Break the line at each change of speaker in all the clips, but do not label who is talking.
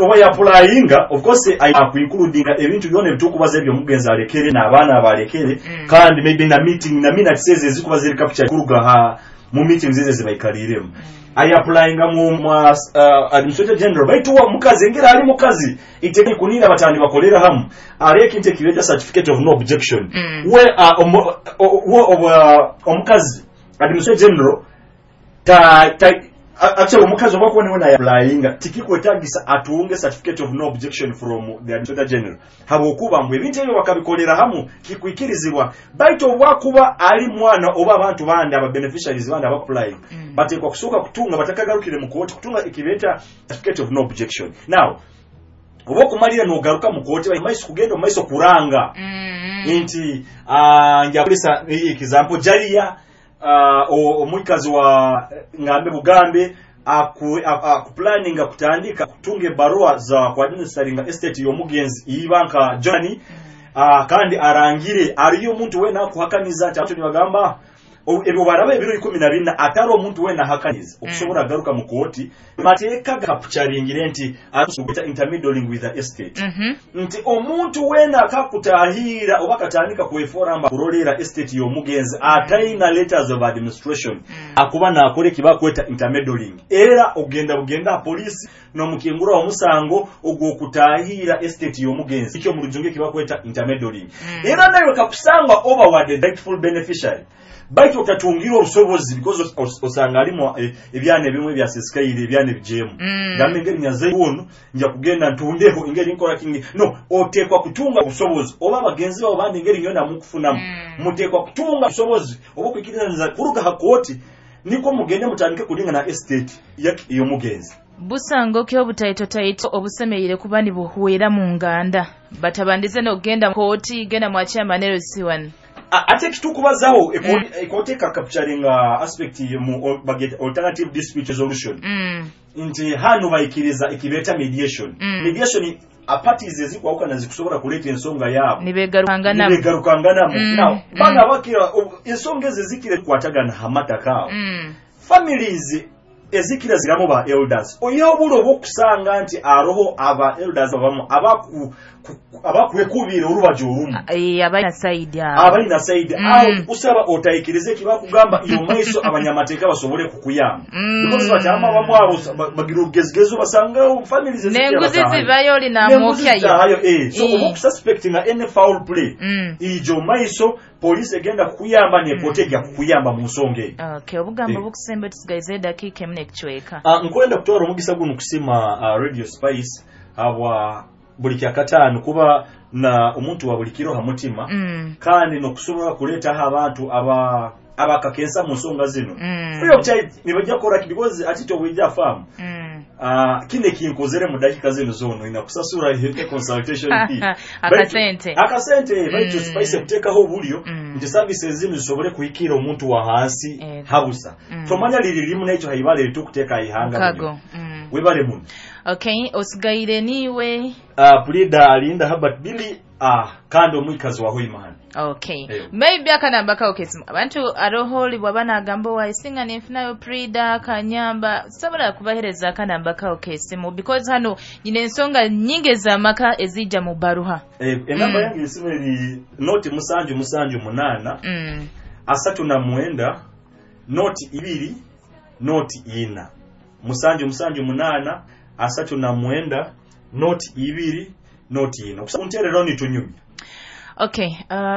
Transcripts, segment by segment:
Oba yapplyinga, of course akuincludinga ebintu byona ebitukubaza ebyomugenzi alekere n'abaana abalekere, kandi maybe na meeting na minutes ezo ezikuba ziri capture kuruga ha mu meetings ezo zibaikaliremu. Ayapplyinga mu administrator general, baitu wa mukazi engeri ali mukazi iteke kunira batandi bakolera hamu ari ekintu ekibeta certificate of no objection. We omukazi administrator general ta actually omukazi oba kuba niwe nayapplyinga tikikwetagisa atunge certificate of no objection from the administrator general, habwokuba mbu ebintu ebyo bakabikolera hamu kikwikirizibwa. Baitu obwakuba ali mwana oba abantu bandi aba beneficiaries bandi abapplying, batekwa kusooka kutunga batakagarukire mu kooti kutunga ekibeta certificate of no objection. Now oba okumalira nogaruka mu kooti maiso kugenda omu maiso kuranga nti njakulisa example Jalia, omukazi wa ngambe bugambe akuplaninga kutandika kutunga ebaruwa za kuadministeringa estate y'omugenzi iba nka Johnny, kandi arangire ariyo omuntu wena akuhakaniza nti abantu nibagamba ebyo baraba ebiro 14 atari omuntu wena ahakaniza okusobola agaruka mu kooti. Mateeka gakapcharingire nti atusugeta intermeddling with the estate, nti omuntu wena akakutahira oba akatandika kwefora mba kurolera estate y'omugenzi ataina letters of administration, akuba nakora ekibakweta intermeddling, era ogenda bugenda polisi nomukingura omusango ogwokutahira estate y'omugenzi, ekyo mu rujungu ekibakweta intermeddling. Era nawe kakusanga oba wa the rightful beneficiary, baitu otatungira obusobozi because osanga alimu ebyana ebimwe byasisikaire ebyana ebijemu, gambe engeri nyaze ono nja kugenda ntundeho engeri nkola kingi no, otekwa kutunga obusobozi oba abagenzi babo bandi engeri nyona mukufunamu, mutekwa kutunga obusobozi oba okwikiriza kuruga ha kooti niko mugende mutandike kulinga na estate y'omugenzi.
Busango ki obutaitotaito obusemereire kuba nibuhwera mu nganda batabandize n'okugenda kooti genda mwa chairman LC1?
Ate kitukubazaho ekooti ekakapturinga aspect mu bageta alternative dispute resolution, nti hano bayikiriza ekibeta mediation. Mediation parties ezikwawukana zikusobola kuleeta ensonga yaabo
nibegarukanganamu.
Nibegarukanganamu. Now bana bakira ensonga ezo ezikira kukwatagana hamataka awo, families ezikira ziramu ba elders, oyihaho obule obwokusanga nti aroho aba elders abamu abakwekubira orubaju orumu,
abalina side awo,
abalina side awo, kusaba otayikirize ekibakugamba iyo maiso abanyamateeka basobole kukuyamba, because bakyama abamu abo bagira olugezigezi basanga families ezikira
n'enguzi
bataahayo.
Zibayo oli namwokyayo.
So oba okususpectinga any foul play, ijo maiso poliisi egenda kukuyamba nekooti ejja kukuyamba mu nsonga eyo.
Okay, obugambo bukusembe, tusigaize edakiika emu n'ekicweka.
Nkwenda kutwara omugisa guno kusima Radio Spice habwa buli kyakataano kuba na omuntu wa buli kiro ha mutima, kandi nokusobola kuleetaho abantu aba abakakensa mu nsonga zino free of charge nibajja kukora ki because ati tobwijja faamu. Kino ekinkozere mu dakiika zino zono inakusasura ihe consultation fee.
Akasente.
Akasente, baitu Spice kuteekaho obulyo nti services zino zisobole kuhikira omuntu wa hansi habusa. Tomanya liri limu nekyo haibale litukuteeka ihanga.
Mukago.
Webale muno.
Okay, osigaire niwe
Pulida Alinda Herbert Billy, kandi omwikazi wa Hoimani.
Okay. Maybe akanamba kawo kesimu abantu aroho bwaba nagamba wayisinga nenfunayo Prida kanyamba, sobola kubahereza akanamba kawo kesimu because hano nyina ensonga nyingi ez'amaka ezijja mu baruha.
Enamba yange esimu eri 0 7 7 8 39 0 2 0 4. 7 7 8 39 0 2 0 4. Okuntereraho nitunyumya.
Okay,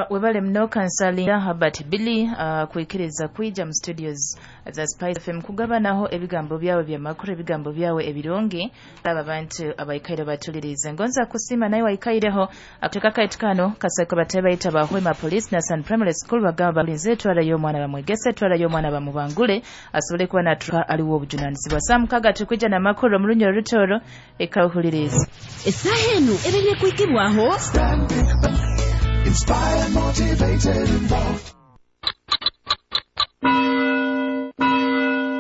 webale muno Kansalinda Herbert Billy kwikiriza kwija mu studios za Spice FM kugabanaho ebigambo byawe byamakuru, ebigambo byawe ebirungi aba abantu abaikaire batulirize. Ngonza kusima naye waikaireho akuteka kaitu kano kasako batebe bayita ba Hoima Police na San Primary School bagamba balinze twalayo omwana bamwegese, twalayo omwana bamubangule asobole kuba natuka aliwo obujunanizibwa. Saa 6 tukwija n'amakuru mu Lunyoro Rutoro ekawuliriza.
Essaaha eno ebeire kwikibwaho
Inspired, motivated, involved.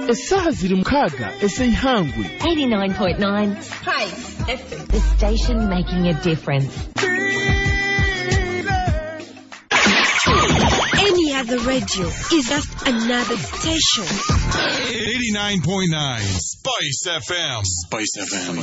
Essaaha ziri 6 ez'eihangwe.
89.9
Spice FM.
The station making a difference.
Any other radio is just another station.
89.9 Spice FM. Spice FM.